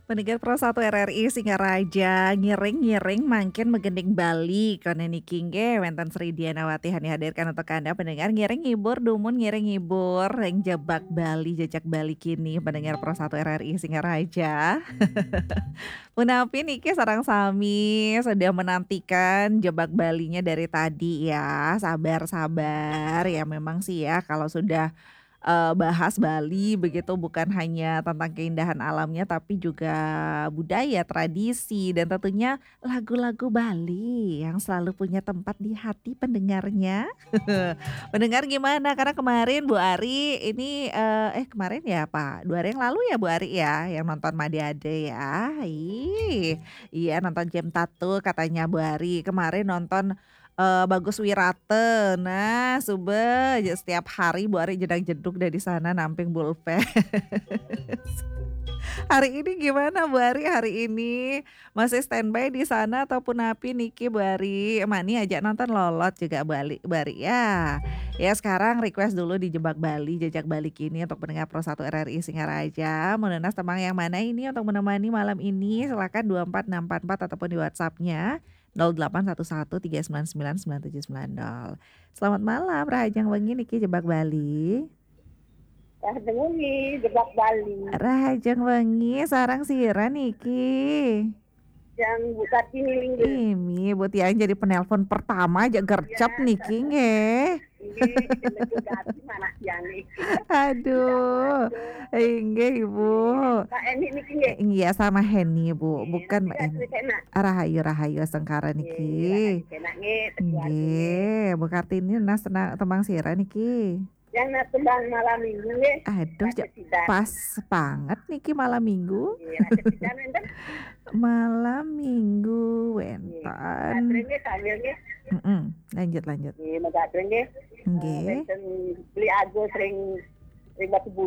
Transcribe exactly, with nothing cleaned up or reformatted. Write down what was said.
Pendengar Pro satu R R I Singaraja, ngiring-ngiring mangkin megending Bali. Kono niki nggih wenten Sri Dianawati Hani hadirkan untuk Anda pendengar, ngiring ngibur, dumun ngiring ngibur ring jebak Bali, jejak Bali kini, pendengar Pro satu R R I Singaraja. Punapi niki sareng sami sudah menantikan jebak Balinya dari tadi ya. Sabar-sabar ya, memang sih ya kalau sudah eh, bahas Bali begitu, bukan hanya tentang keindahan alamnya tapi juga budaya, tradisi, dan tentunya lagu-lagu Bali yang selalu punya tempat di hati pendengarnya. Pendengar gimana? Karena kemarin Bu Ari ini eh, eh kemarin ya Pak, dua hari yang lalu ya Bu Ari ya yang nonton Made Ade ya. Ih, iya, nonton Jem Tato katanya Bu Ari. Kemarin nonton eh, Bagus Wirata. Nah, suba aja setiap hari Bu Ari jedag-jedug dari sana namping bulpen. Hari ini gimana Bu Ari? Hari ini masih standby di sana ataupun api niki Bu Ari? Mani aja nonton lolot juga balik Bu Ari ya. Ya, sekarang request dulu di Jebak Bali, Jejak Bali kini untuk pendengar Pro satu R R I Singaraja. Mau nunas tembang yang mana ini untuk menemani malam ini? Silakan dua empat enam empat empat ataupun di WhatsApp-nya nol delapan satu satu tiga sembilan sembilan sembilan tujuh sembilan nol. Selamat malam, Rahajeng Wengi niki Jebak Bali. Rahajeng Wengi, Jebak Bali. Rahajeng Wengi, sareng sira niki? Yang Bu Kartini nggih. Imi, Bu Tiang jadi penelpon pertama aja gercep niki nggih. Nggih, Bu Kartini mana Tiang nih? Aduh, inggih Ibu. Pak Eni niki nggih. Iya, sama Heni Bu, bukan Mbak Iya, Eni. Sri Sena. Rahayu, rahayu, sengkara niki. Enak nggih, keluarga nggih. Nggih, Bu Kartini nunas tena- tembang sira niki. Yang nunas tembang malam minggu nggih. Aduh, ja- Sida. Pas banget niki malam minggu. Nggih, ada sida nenten. Malam minggu Nggih. wenten. Katring nggih sambil nggih. Mm-mm. Lanjut, lanjut. Nggih, megatring nggih. Nggih. Wenten beli Agus ring ring Batu Bulan.